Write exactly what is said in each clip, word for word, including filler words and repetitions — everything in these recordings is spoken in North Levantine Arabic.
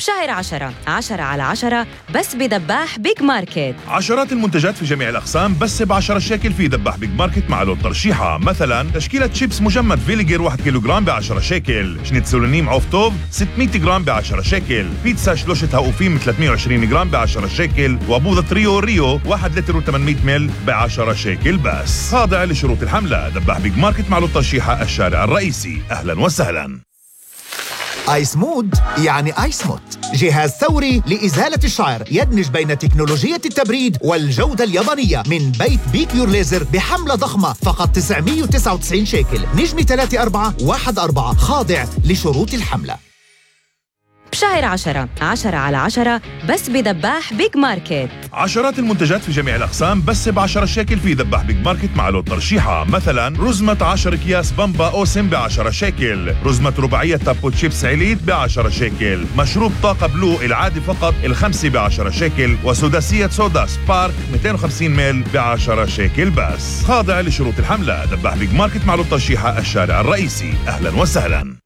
بشهر عشرة عشرة على عشرة بس بدباح بيج ماركت. عشرات المنتجات في جميع الأقسام بس بعشرة شيكل في دباح بيج ماركت مع لون ترشيحة. مثلا تشكيلة شيبس مجمد فيليجر واحد كيلوغرام بعشرة شيكل، شنيتسولونيم عوفتوف ستمية جرام بعشرة شيكل، بيتزا شلوشة هاوفيم ثلاثمية وعشرين جرام بعشرة شيكل، وبوظة ريو ريو واحد لتر وثمانمية مل بعشرة شيكل بس. خاضع لشروط الحملة. دباح بيج ماركت مع لون ترشيحة الشارع الرئيسي. أهلا وسهلا. آيس مود يعني آيس موت، جهاز ثوري لإزالة الشعر يدمج بين تكنولوجية التبريد والجودة اليابانية من بيت بيك يور ليزر بحملة ضخمة فقط تسعمية وتسعة وتسعين شيكل. نجمة ثلاثة أربعة واحد أربعة. خاضع لشروط الحملة. بشهر عشرة عشرة على عشرة بس بدباح بيج ماركت. عشرات المنتجات في جميع الأقسام بس بعشرة شيكل في دباح بيج ماركت مع لون ترشيحة. مثلا رزمة عشر أكياس بامبا أوسم بعشرة شيكل، رزمة رباعية تابو تشيبس عيليت بعشرة شيكل، مشروب طاقة بلو العادي فقط الخمسة بعشرة شيكل، وسداسية صودا سبارك مئتين وخمسين مل بعشرة شيكل بس. خاضع لشروط الحملة. دباح بيج ماركت مع لون ترشيحة الشارع الرئيسي. أهلا وسهلا.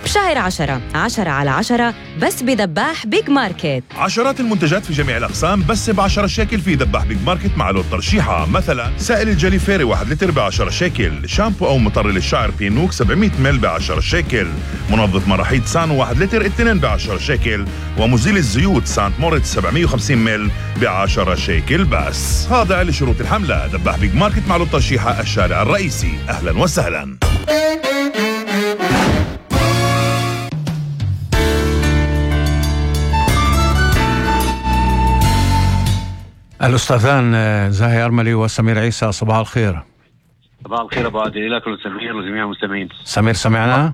بشهر عشرة عشرة على عشرة بس بدباح بيج ماركت. عشرات المنتجات في جميع الأقسام بس بعشرة شيكل في دباح بيج ماركت مع لون ترشيحة. مثلا سائل الجلي فيري واحد لتر بعشرة شيكل، شامبو أو مطر للشعر بينوك سبعمية مل بعشرة شيكل، منظف مراحيض سانو واحد لتر اثنين بعشرة شيكل، ومزيل الزيوت سانت موريتس سبعمية وخمسين مل بعشرة شيكل بس. خاضع لشروط الحملة. دباح بيج ماركت مع لون ترشيحة الشارع الرئيسي. أهلا وسهلا. الأستاذان زاهي أرملي وسمير عيسى، صباح الخير. صباح الخير أبو عادل لك ولسمير وجميع المستمعين. سمير سمعنا؟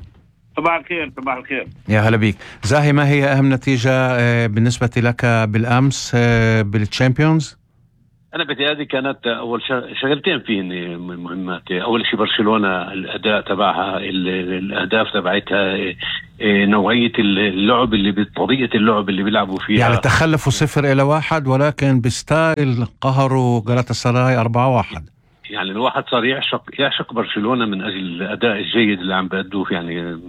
صباح الخير. صباح الخير يا هلا بيك. زاهي، ما هي أهم نتيجة بالنسبة لك بالأمس بالتشامبيونز؟ أنا بتهيألي كانت أول شغلتين فيهن مهمات. أول شيء برشلونة الأداء تبعها، الأهداف تبعتها، نوعية اللعب اللي بطريقة اللعب اللي بيلعبوا فيها. يعني تخلفوا صفر إلى واحد ولكن بستايل قهروا غالاتاسراي أربعة واحد. يعني الواحد صار يعشق يعشق برشلونة من أجل الأداء الجيد اللي عم بأدوه. يعني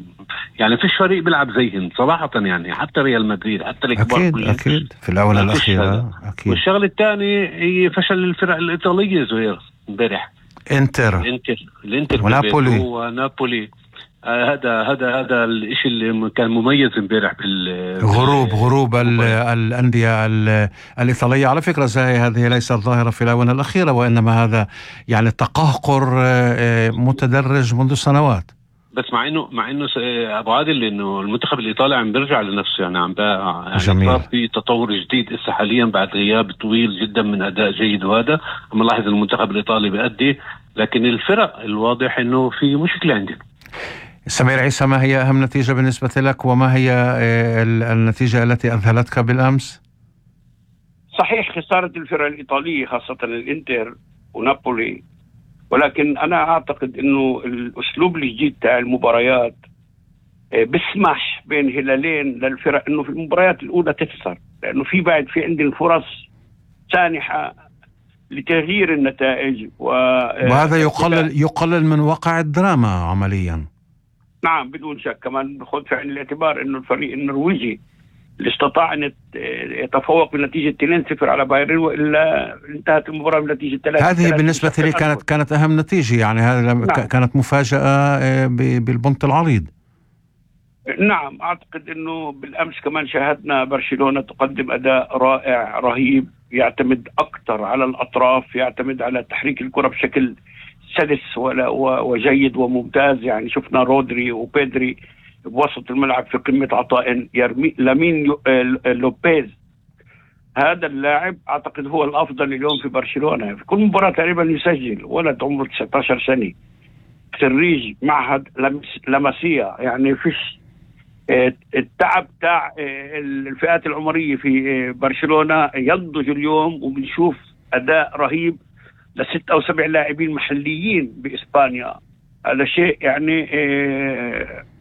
يعني فيش فريق بيلعب زيهم صراحة، يعني حتى ريال مدريد حتى الكبار أكيد كلهم. أكيد في الأولى الأخيرة أكيد. والشغلة الثانية هي فشل الفرق الإيطالية زهير امبارح. إنتر الإنتر الإنتر ونابولي ونابولي آه هذا هذا هذا الشيء اللي كان مميز امبارح بال غروب غروب الأندية الإيطالية. على فكرة زي هذه ليست ظاهرة في الآونة الأخيرة، وإنما هذا يعني تقهقر متدرج منذ سنوات. بس مع انه مع انه ابو عادل انه المنتخب الايطالي عم بيرجع لنفسه، يعني عم يعني صار في تطور جديد هسه حاليا بعد غياب طويل جدا من اداء جيد، وهذا عم نلاحظ المنتخب الايطالي بيأدي، لكن الفرق الواضح انه في مشكلة عندنا. سمير عيسى، ما هي أهم نتيجة بالنسبة لك وما هي النتيجة التي أذهلتك بالأمس؟ صحيح خسارة الفرق الإيطالية خاصة الإنتر ونابولي، ولكن أنا أعتقد أنه الأسلوب الجديد تاع المباريات بسمح بين هلالين للفرق أنه في المباريات الأولى تخسر، لأنه في بعد في عندنا فرص سانحة لتغيير النتائج و... وهذا يقلل يقلل من وقع الدراما عمليا. نعم بدون شك. كمان بخذ في عين الاعتبار انه الفريق النرويجي اللي استطاع ان يتفوق بنتيجه اثنين صفر على بايرن، والا انتهت المباراه بنتيجه ثلاثة. هذه بالنسبه لي كانت كانت اهم نتيجه، يعني هذا نعم. كانت مفاجاه بالبنط العريض. نعم اعتقد انه بالامس كمان شاهدنا برشلونه تقدم اداء رائع رهيب، يعتمد اكثر على الاطراف، يعتمد على تحريك الكره بشكل سلس وجيد وممتاز. يعني شفنا رودري وبيدري بوسط الملعب في قمة عطاء، يرمي لامين لوبيز هذا اللاعب أعتقد هو الأفضل اليوم في برشلونة. في كل مباراة تقريبا يسجل، ولد عمره تسعة عشر سنة، خريج معهد لاماسيا. يعني فيش التعب تاع الفئات العمرية في برشلونة ينضج اليوم، وبنشوف أداء رهيب لست أو سبع لاعبين محليين بإسبانيا. هذا شيء يعني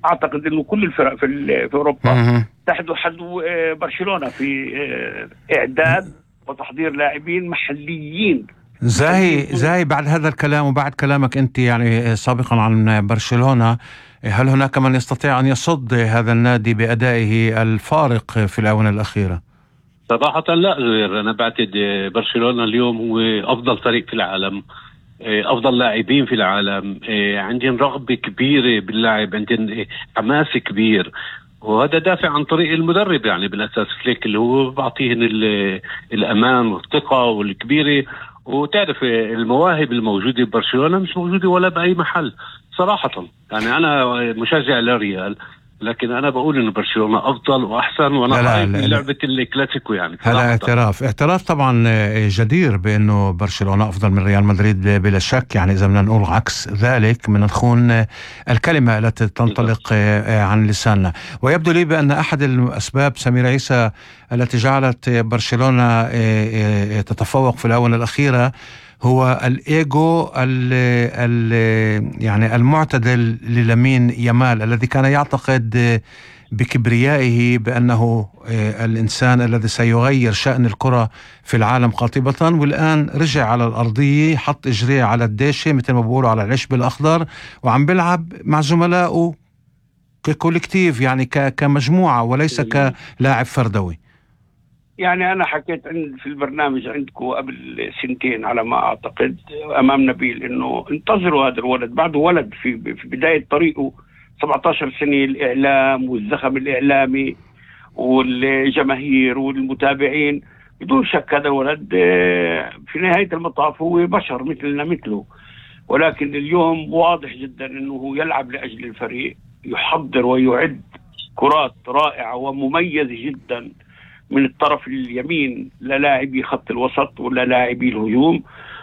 أعتقد أنه كل الفرق في في أوروبا تحدو حدو برشلونة في إعداد وتحضير لاعبين محليين زاهي زاهي بعد هذا الكلام وبعد كلامك أنت يعني سابقا عن برشلونة، هل هناك من يستطيع أن يصد هذا النادي بأدائه الفارق في الآونة الأخيرة؟ صراحة لا غير، أنا بعتقد برشلونة اليوم هو أفضل فريق في العالم، أفضل لاعبين في العالم، عندهم رغبة كبيرة باللعب، عندهم حماس كبير، وهذا دافع عن طريق المدرب يعني بالأساس فليك اللي هو بعطيهن الأمان والثقة والكبيرة. وتعرف المواهب الموجودة ببرشلونة مش موجودة ولا بأي محل صراحة. يعني أنا مشجع للريال، لكن أنا بقول إنه برشلونة أفضل وأحسن، وأنا خايف من لعبة الكلاسيكو يعني. هذا اعتراف اعتراف طبعا جدير بأنه برشلونة أفضل من ريال مدريد بلا شك. يعني إذا بدنا نقول عكس ذلك من نخون الكلمة التي تنطلق عن لساننا. ويبدو لي بأن أحد الأسباب سمير عيسى التي جعلت برشلونة تتفوق في الآونة الأخيرة هو الإيجو ال ال يعني المعتدل للامين يامال، الذي كان يعتقد بكبريائه بأنه الإنسان الذي سيغير شأن الكرة في العالم قاطبة، والآن رجع على الأرضية، حط إجريه على الداشة مثل ما بقولوا على العشب الأخضر، وعم بيلعب مع زملائه ككولكتيف يعني كمجموعة وليس كلاعب فردوي. يعني أنا حكيت عند في البرنامج عندكم قبل سنتين على ما أعتقد أمام نبيل إنه انتظروا هذا الولد، بعده ولد في في بداية طريقه، سبعة عشر سنة، الإعلام والزخم الإعلامي والجماهير والمتابعين، بدون شك هذا الولد في نهاية المطاف هو بشر مثلنا مثله. ولكن اليوم واضح جدا إنه هو يلعب لأجل الفريق، يحضر ويعد كرات رائعة ومميزة جدا من الطرف اليمين للاعبي خط الوسط ولا لاعبي الهجوم.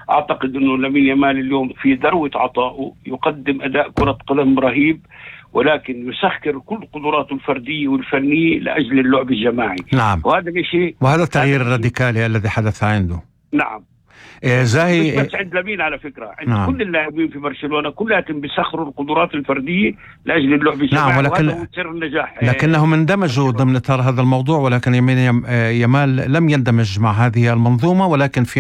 أعتقد أنه لامين يامال اليوم في ذروة عطائه، يقدم أداء كرة قدم رهيب، ولكن يسخر كل قدراته الفردية والفنية لأجل اللعب الجماعي. نعم. وهذا الشيء وهذا التغيير الراديكالي الذي حدث عنده. نعم. إيه زاهي مش بس عند لامين على فكرة، عند نعم. كل اللاعبين في برشلونة كلهم بيسخروا القدرات الفردية لأجل اللعب الجماعي. نعم، ولكن وهذا هو سر النجاح. لكنهم اندمجوا ضمن إطار هذا الموضوع، ولكن يامال لم يندمج مع هذه المنظومة، ولكن في